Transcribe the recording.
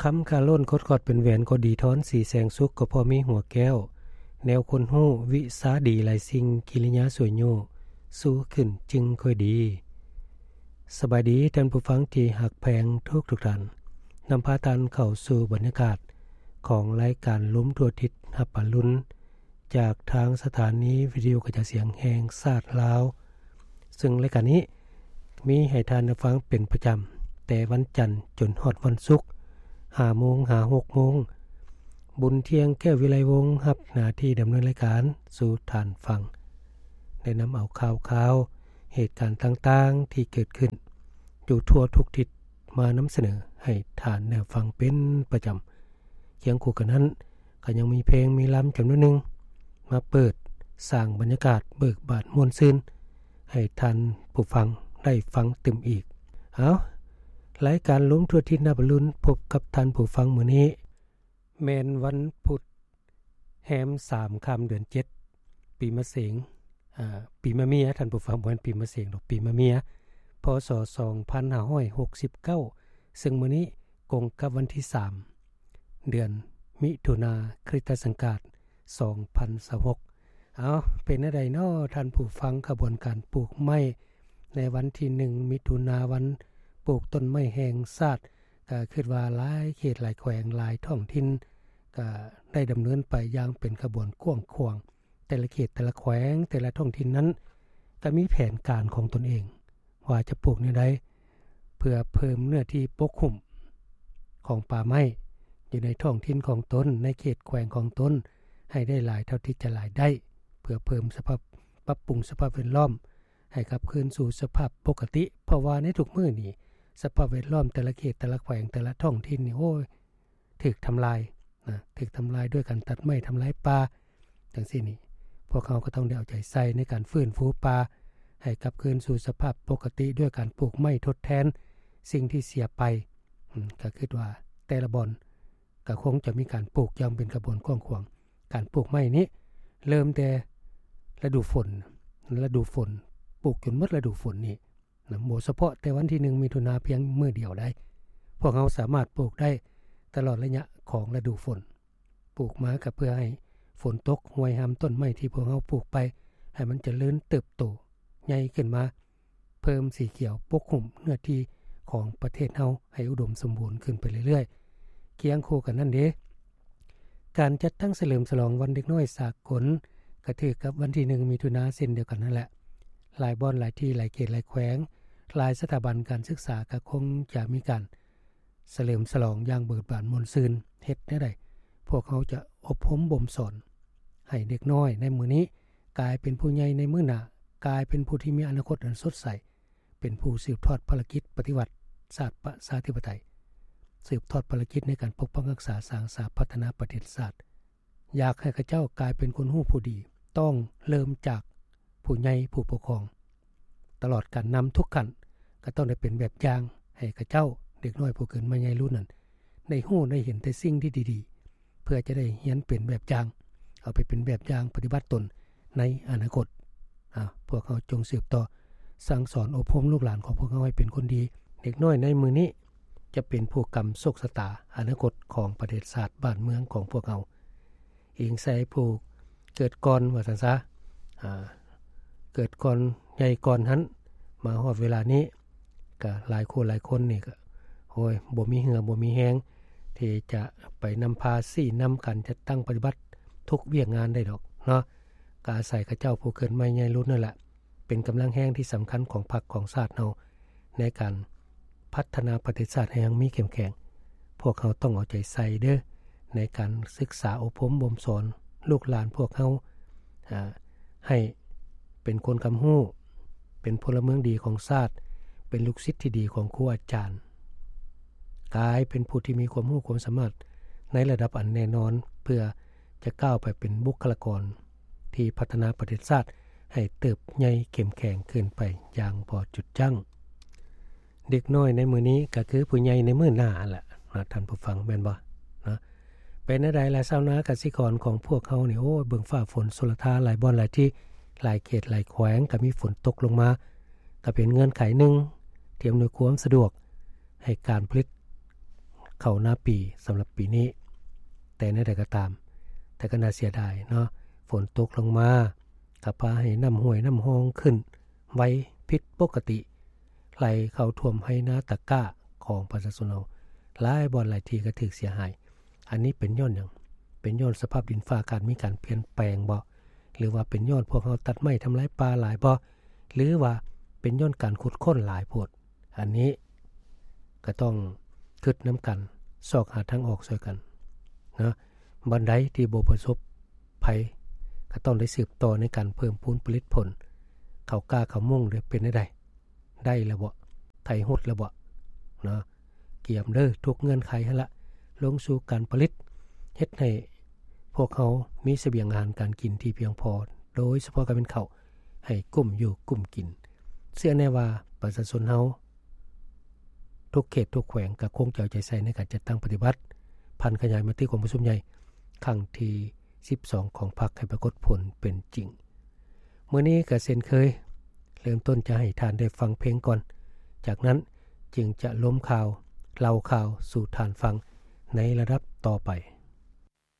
ຄຳຄາລົ້ນ ຄົດຂອດເປັນແຫວນ ກໍດີທອນສີແສງສຸກ ກໍເພາະມີຫົວແກ້ວ ແນວຄົນຮູ້ວິຊາດີຫຼາຍສິ່ງ ກິລິຍາສວຍໂຍ ສູ້ຂຶ້ນຈຶ່ງຄ່ອຍດີ. ສະບາຍດີທ່ານຜູ້ຟັງທີ່ຮັກແພງທຸກໆທ່ານ, ນຳພາທ່ານເຂົ້າສູ່ບັນຍາກາດຂອງລາຍການລົມທົ່ວທິດຮັບອະລຸນ ຈາກທາງສະຖານີວິທະຍຸກະຈາຍສຽງແຫ່ງຊາດລາວ, ເຊິ່ງລາຍການນີ້ມີໃຫ້ທ່ານໄດ້ຟັງເປັນປະຈຳ ແຕ່ວັນຈັນຈົນຮອດວັນສຸກ ຫ້າໂມງຫາຫົກໂມງ. ບຸນທ່ຽງ ແກ້ວວິໄລວົງ ຮັບໜ້າທີ່ດຳເນີນລາຍການສູ່ທ່ານຟັງ, ໄດ້ນຳເອົາຂ່າວຄາວ ເຫດການຕ່າງໆທີ່ເກີດຂຶ້ນຢູ່ທົ່ວທຸກທິດ ມານຳສະເໜີໃຫ້ທ່ານໄດ້ຟັງເປັນປະຈຳ. ຄຽງຄູ່ກັນນັ້ນ ກໍຍັງມີເພງມີລຳຈຳນວນໜຶ່ງ ມາເປີດສ້າງບັນຍາກາດເບີກບານມ່ວນຊື່ນ ໃຫ້ທ່ານຜູ້ຟັງໄດ້ຟັງຕື່ມອີກ. ເອົາ, ລາຍການລົມທົ່ວທິດນັບອະລຸນ ພົບກັບທ່ານຜູ້ຟັງມື້ນີ້ ແມ່ນວັນພຸດ ແຮມສາມຄ່ຳເດືອນເຈັດ ປີມະເສັງ ອາ ປີມະເມຍ, ທ່ານຜູ້ຟັງ, ບໍ່ແມ່ນປີມະເສັງດອກ, ປີມະເມຍ ພ.ສ. ສອງພັນຫ້າຮ້ອຍຫົກສິບເກົ້າ ເຊິ່ງມື້ນີ້ກົງກັບວັນທີສາມ ເດືອນມິຖຸນາ ຄຣິສຕະສັງກາດ ສອງພັນຊາວຫົກ. ເອົາ, ເປັນແນວໃດນໍທ່ານຜູ້ຟັງ? ຂະບວນການປູກໄມ້ໃນວັນທີໜຶ່ງ ມິຖຸນາ ວັນປູກຕົ້ນໄມ້ແຫ່ງຊາດ ກໍຄິດວ່າຫຼາຍເຂດຫຼາຍແຂວງຫຼາຍທ້ອງຖິ່ນ ກໍໄດ້ດຳເນີນໄປຢ່າງເປັນຂະບວນກວ້າງຂວາງ. ແຕ່ລະເຂດ ແຕ່ລະແຂວງ ແຕ່ລະທ້ອງຖິ່ນນັ້ນ ກໍມີແຜນການຂອງຕົນເອງ ວ່າຈະປູກແນວໃດ ເພື່ອເພີ່ມເນື້ອທີ່ປົກຫຸ້ມຂອງປ່າໄມ້ຢູ່ໃນທ້ອງຖິ່ນຂອງຕົນ, ໃນເຂດແຂວງຂອງຕົນ ໃຫ້ໄດ້ຫຼາຍເທົ່າທີ່ຈະຫຼາຍໄດ້, ເພື່ອເພີ່ມສະພາບ, ປັບປຸງສະພາບແວດລ້ອມໃຫ້ກັບຄືນສູ່ສະພາບປົກກະຕິ. ເພາະວ່າໃນທຸກມື້ນີ້ ສະພາບແວດລ້ອມແຕ່ລະເຂດ ແຕ່ລະແຂວງ ແຕ່ລະທ້ອງຖິ່ນນີ້ ໂອ້ຍ ຖືກທຳລາຍນະ, ຖືກທຳລາຍດ້ວຍການຕັດໄມ້ ທຳລາຍປ່າ ຈັ່ງຊີ້ນີ້ ພວກເຮົາກໍຕ້ອງໄດ້ເອົາໃຈໃສ່ໃນການຟື້ນຟູປ່າໃຫ້ກັບຄືນສູ່ສະພາບປົກກະຕິ ດ້ວຍການປູກໄມ້ທົດແທນສິ່ງທີ່ເສຍໄປ. ອືມ ກໍຄິດວ່າແຕ່ລະບ່ອນກໍຄົງຈະມີການປູກຢ່າງເປັນຂະບວນກວ້າງຂວາງ. ການປູກໄມ້ນີ້ເລີ່ມແຕ່ລະດູຝົນ, ລະດູຝົນ, ປູກຈົນໝົດລະດູຝົນນີ້ ນະ, ບໍ່ສະເພາະແຕ່ວັນທີໜຶ່ງ ມິຖຸນາພຽງມື້ດຽວໃດ໋. ພວກເຮົາສາມາດປູກໄດ້ຕະຫຼອດໄລຍະຂອງລະດູຝົນ. ປູກມາກໍເພື່ອໃຫ້ຝົນຕົກ ຮວຍຮາມຕົ້ນໄມ້ທີ່ພວກເຮົາປູກໄປ ໃຫ້ມັນຈະເລີນເຕີບໂຕໃຫຍ່ຂຶ້ນມາ, ເພີ່ມສີຂຽວປົກຫຸ້ມເນື້ອທີ່ຂອງປະເທດເຮົາໃຫ້ອຸດົມສົມບູນຂຶ້ນໄປເລື້ອຍໆ. ຄຽງຄູ່ກັນນັ້ນເດ, ການຈັດຕັ້ງສະເຫຼີມສະຫຼອງວັນເດັກນ້ອຍສາກົນ ກໍຖືກກັບວັນທີໜຶ່ງ ມິຖຸນາເຊັ່ນດຽວກັນນັ້ນແຫຼະ. ຫຼາຍບ່ອນ, ຫຼາຍທີ່, ຫຼາຍເຂດ, ຫຼາຍແຂວງ, ຫຼາຍສະຖາບັນການສຶກສາກໍຄົງຈະມີການສະເຫຼີມສະຫຼອງຢ່າງເບີກບານມ່ວນຊື່ນ. ເຮັດແນວໃດ? ພວກເຮົາຈະອົບຮົມບົ່ມສອນໃຫ້ເດັກນ້ອຍໃນມື້ນີ້ ກາຍເປັນຜູ້ໃຫຍ່ໃນມື້ໜ້າ, ກາຍເປັນຜູ້ທີ່ມີອະນາຄົດອັນສົດໃສ, ເປັນຜູ້ສືບທອດພາລະກິດປະຕິວັດຊາດປະຊາທິປະໄຕ, ສືບທອດພາລະກິດໃນການປົກປັກຮັກສາ, ສ້າງສາ, ພັດທະນາປະເທດຊາດ. ຢາກໃຫ້ເຂົາເຈົ້າກາຍເປັນຄົນຮູ້ຜູ້ດີ, ຕ້ອງເລີ່ມຈາກຜູ້ໃຫຍ່ຜູ້ປົກຄອງ. ຕະຫຼອດການນຳທຸກຂັ້ນ ກໍຕ້ອງໄດ້ເປັນແບບຢ່າງໃຫ້ເຂົາເຈົ້າ, ເດັກນ້ອຍຜູ້ເກີດໃໝ່ໃຫຍ່ລຸ້ນນັ້ນ ໄດ້ຮູ້ໄດ້ເຫັນແຕ່ສິ່ງທີ່ດີໆ ເພື່ອຈະໄດ້ຮຽນເປັນແບບຢ່າງ, ເອົາໄປເປັນແບບຢ່າງປະຕິບັດຕົນໃນອະນາຄົດ. ອາ, ພວກເຮົາຈົ່ງສືບຕໍ່ສັ່ງສອນອົບຮົມລູກຫຼານຂອງພວກເຮົາໃຫ້ເປັນຄົນດີ. ເດັກນ້ອຍໃນມື້ນີ້ຈະເປັນຜູ້ກຳໂຊກຊະຕາອະນາຄົດຂອງປະເທດຊາດບ້ານເມືອງຂອງພວກເຮົາ. ອີງໃສ່ຜູ້ເກີດກ່ອນວ່າຊັ້ນຊະ, ອາ, ເກີດກ່ອນ, ໃຫຍ່ກ່ອນຫັ້ນ, ມາຮອດເວລານີ້ ກະຫຼາຍຄູ່ຫຼາຍຄົນນີ້ກະ ໂອ້ຍ ບໍ່ມີເຫື່ອບໍ່ມີແຮງທີ່ຈະໄປນຳພາຊີ້ນຳການຈັດຕັ້ງປະຕິບັດທຸກວຽກງານໄດ້ດອກເນາະ. ກະອາໄສເຂົາເຈົ້າຜູ້ເກີດໃໝ່ໃຫຍ່ລຸ້ນນັ້ນແຫຼະ ເປັນກຳລັງແຮງທີ່ສຳຄັນຂອງພັກຂອງຊາດເຮົາ ໃນການພັດທະນາປະເທດຊາດໃຫ້ຮັ່ງມີເຂັ້ມແຂງ. ພວກເຮົາຕ້ອງເອົາໃຈໃສ່ເດີ້ ໃນການສຶກສາອົບຮົມບົ່ມສອນລູກຫຼານພວກເຮົາ ອາ, ໃຫ້ເປັນຄົນກຳຮູ້, ເປັນພົນລະເມືອງດີຂອງຊາດ, ເປັນລູກສິດທີ່ດີຂອງຄູອາຈານ, ກາຍເປັນຜູ້ທີ່ມີຄວາມຮູ້ຄວາມສາມາດໃນລະດັບອັນແນ່ນອນ ເພື່ອຈະກ້າວໄປເປັນບຸກຄະລາກອນທີ່ພັດທະນາປະເທດຊາດໃຫ້ເຕີບໃຫຍ່ເຂັ້ມແຂງຂຶ້ນໄປຢ່າງບໍ່ຢຸດຢັ້ງ. ເດັກນ້ອຍໃນມື້ນີ້ກໍຄືຜູ້ໃຫຍ່ໃນມື້ໜ້າຫັ້ນລະເນາະ ທ່ານຜູ້ຟັງ ແມ່ນບໍ່ເນາະ? ເປັນແນວໃດລະຊາວນາກະສິກອນຂອງພວກເຮົານີ້? ໂອ້ຍ ເບິ່ງຟ້າຝົນຊົນລະທານ ຫຼາຍບ່ອນຫຼາຍທີ່ ຫຼາຍເຂດຫຼາຍແຂວງກໍມີຝົນຕົກລົງມາ ກໍເປັນເງື່ອນໄຂໜຶ່ງທີ່ອຳນວຍຄວາມສະດວກໃຫ້ການຜະລິດ ເຂົ້ານາປີສຳລັບປີນີ້. ແຕ່ແນວໃດກໍຕາມ, ແຕ່ກໍໜ້າເສຍດາຍເນາະ, ຝົນຕົກລົງມາກໍພາໃຫ້ນ້ຳຫ້ວຍນ້ຳຮ່ອງຂຶ້ນໄວຜິດປົກກະຕິ, ໄຫຼເຂົ້າຖ້ວມໄຮ່ນາຕາກ້າຂອງປະຊາຊົນເຮົາ. ຫຼາຍບ່ອນຫຼາຍທີ່ກໍຖືກເສຍຫາຍ. ອັນນີ້ເປັນຍ້ອນຫຍັງ? ເປັນຍ້ອນສະພາບດິນຟ້າອາກາດມີການປ່ຽນແປງບໍ່? ຫຼືວ່າເປັນຍ້ອນພວກເຮົາຕັດໄມ້ທຳລາຍປ່າຫຼາຍບໍ່? ຫຼືວ່າເປັນຍ້ອນການຂຸດຄົ້ນຫຼາຍໂພດ? ອັນນີ້ກໍຕ້ອງຄິດນຳກັນ, ຊອກຫາທາງອອກຊ່ວຍກັນເນາະ. ບ່ອນໃດທີ່ບໍ່ປະສົບໄພ ກໍຕ້ອງໄດ້ສືບຕໍ່ໃນການເພີ່ມພູນຜະລິດຜົນ. ເຂົ້າກ້າເຂົ້າມຸງເດ້ ເປັນແນວໃດ? ໄດ້ແລ້ວບໍ່? ໄຖຮຸດແລ້ວບໍ່? ເນາະ, ກຽມເດີ ທຸກເງື່ອນໄຂຫັ້ນລະ ລົງສູ່ການຜະລິດ, ເຮັດໃຫ້ພວກເຮົາມີສະບຽງອາຫານການກິນທີ່ພຽງພໍ, ໂດຍສະເພາະກໍແມ່ນເຂົ້າ, ໃຫ້ກຸ້ມຢູ່ກຸ້ມກິນ. ເຊື່ອແນ່ວ່າປະຊາຊົນເຮົາ ທຸກເຂດທຸກແຂວງກໍຄົງຈະເອົາໃຈໃສ່ໃນການຈັດຕັ້ງປະຕິບັດ ຜັນຂະຫຍາຍມະຕິກອງປະຊຸມໃຫຍ່ຄັ້ງທີສິບສອງຂອງພັກໃຫ້ປາກົດຜົນເປັນຈິງ. ມື້ນີ້ກໍເຊັ່ນເຄີຍ, ເລີ່ມຕົ້ນຈະໃຫ້ທ່ານໄດ້ຟັງເພງກ່ອນ, ຈາກນັ້ນຈຶ່ງຈະລົມຂ່າວ, ເລົ່າຂ່າວສູ່ທ່ານຟັງໃນລະດັບຕໍ່ໄປ.